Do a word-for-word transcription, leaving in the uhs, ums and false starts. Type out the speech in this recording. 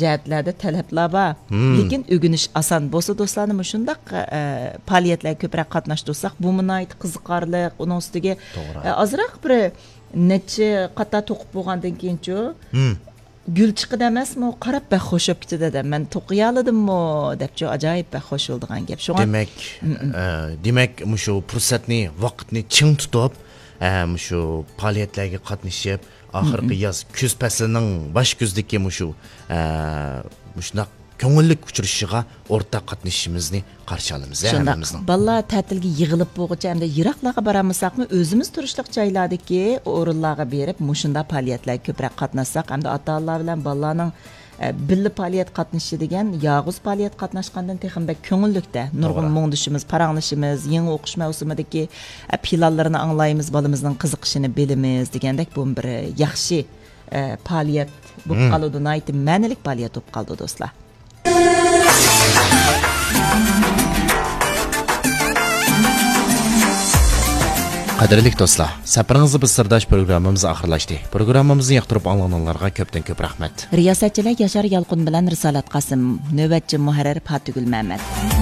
جەھەتلەردە تەلەپلەر بار. لېكىن ئۆگىنىش ئاسان بولسا، دوستلارنى مۇشۇنداق، ئە، پائالىيەتلەرگە كۆپرەك قاتناشتۇرساق، بۇمۇ ناھايىتى قىزىقارلىق. ئۇنىڭ ئۈستىگە، ئە، ئازراق بىر نەچچە قاتار توقۇپ بولغاندىن كېيىنچۇ، گۈل چىقىدۇ ئەمەسمۇ، قاراپ بەك خوش بولۇپ كېتىدۇ دەم. مەن توقۇيالىدىممۇ دەپچۇ، ئاجايىپ بەك خوش بولىدىغان گەپ. شۇڭا دېمەك، ئە، دېمەك، مۇشۇ پۇرسەتنى، ۋاقىتنى چىڭ تۇتۇپ، ئە، مۇشۇ پائالىيەتلەرگە قاتنىشىپ، ئاخىرقى ياز، كۈز پەسلىنىڭ باش كۈزدىكى مۇشۇ، ئە، مۇشۇنداق كۆڭۈللۈك ئۇچرىشىشىغا ئورتاق قاتنىشىشىمىزنى قارشى ئالىمىز، ھە، شۇنداق. ھەممىمىزنىڭ. بالىلار تەتىلگە يىغىلىپ بولغۇچە ئەمدى يىراقلارغا بارالمىساقمۇ، ئۆزىمىز تۇرۇشلۇق جايلاردىكى ئورۇنلارغا بېرىپ، مۇشۇنداق پائالىيەتلەرگە كۆپرەك قاتناشساق، ئەمدى ئاتا-ئانىلار بىلەن بالىلارنىڭ، ئە، بىللە پائالىيەت قاتنىشىشى دېگەن يالغۇز پائالىيەت قاتناشقاندىن تېخىمۇ بەك كۆڭۈللۈكتە. نۇرغۇن مۇڭدىشىمىز، پاراڭلىشىمىز، يېڭى ئوقۇش مەۋسۇمىدىكى، ئە، پىلانلىرىنى ئاڭلايمىز، بالىمىزنىڭ قىزىقىشىنى بىلىمىز دېگەندەك، بۇمۇ بىر ياخشى، ئە، پائالىيەت بولۇپ قالىدۇ، ناھايىتى مەنىلىك پائالىيەت بولۇپ قالىدۇ، دوستلار. قەدىرلىك دوستلار، سەپىرىڭىزدە بىز سىرداش پروگراممىمىز ئاخىرلاشتى. پروگراممىمىزنى ياقتۇرۇپ ئاڭلىغىنىڭلارغا كۆپتىن كۆپ رەھمەت. رىياسەتچىلەر ياشار يالقۇن بىلەن رىسالەت قاسىم. نۆۋەتچى مۇھەررىر پاتىگۈل مەمەت.